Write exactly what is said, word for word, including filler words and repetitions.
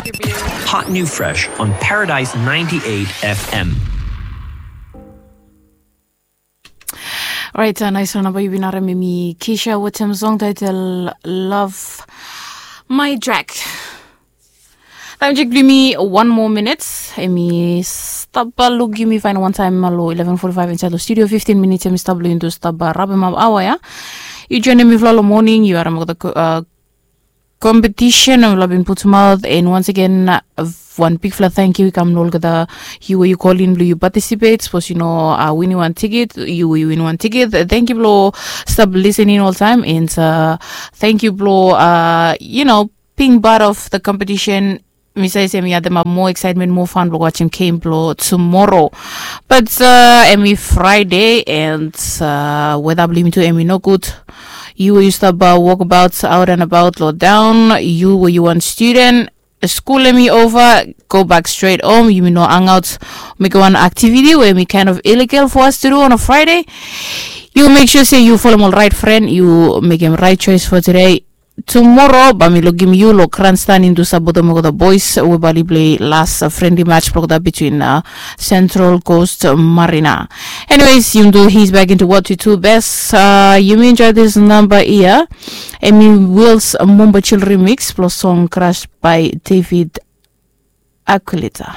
Hot new fresh on Paradise ninety-eight F M. Orait, nais wan namba yu bin harem, hemi Keisha wetem song title Love My Drag. Taem jek blong yumi wan moa minit, hemi stap luk yumi faen wantaem long eleven forty-five insaed long studio. Fifteen minits hemi stap blong yumi tu stap rabemap aoa ya. Yu joenem mifala long moning, yu harem olgeta competition mifala bin putumaot, and once again, wan bigfala tangkiu i kam long olgeta yu we yu kolin blong yu participate. Sapos yu no winim wan tiket, yu we yu winim wan tiket, tangkiu blong stap lisening oltaem, and tangkiu blong, you know, being part of the competition. Mi save se hemi ademap moa excitement, moa fan blong wajem game blong tumora. But hemi Friday, and weta blong yumi tu hemi nogud. Yu we yu stap wokabaot out and about long taon, yu we yu wan studen, skul hemi ova, go bak stret hom, yumi no hangaot, mekem wan activity we hemi kind of illegal for us to do on a Friday. Yu mek sua se yu folem ol rait fren, yu mekem rait choes for today. Tumora bae mi lukim yu long grandstand, yumi tu stap wetem olgeta boys we bae oli plei las friendly match blong olgeta between Central Coast Marina. Anyways, yumi tu ease back into what we do best. Yumi enjoy this number ia. Hemi Wills Mombo Chill remix blong song Crush by David Aquilita.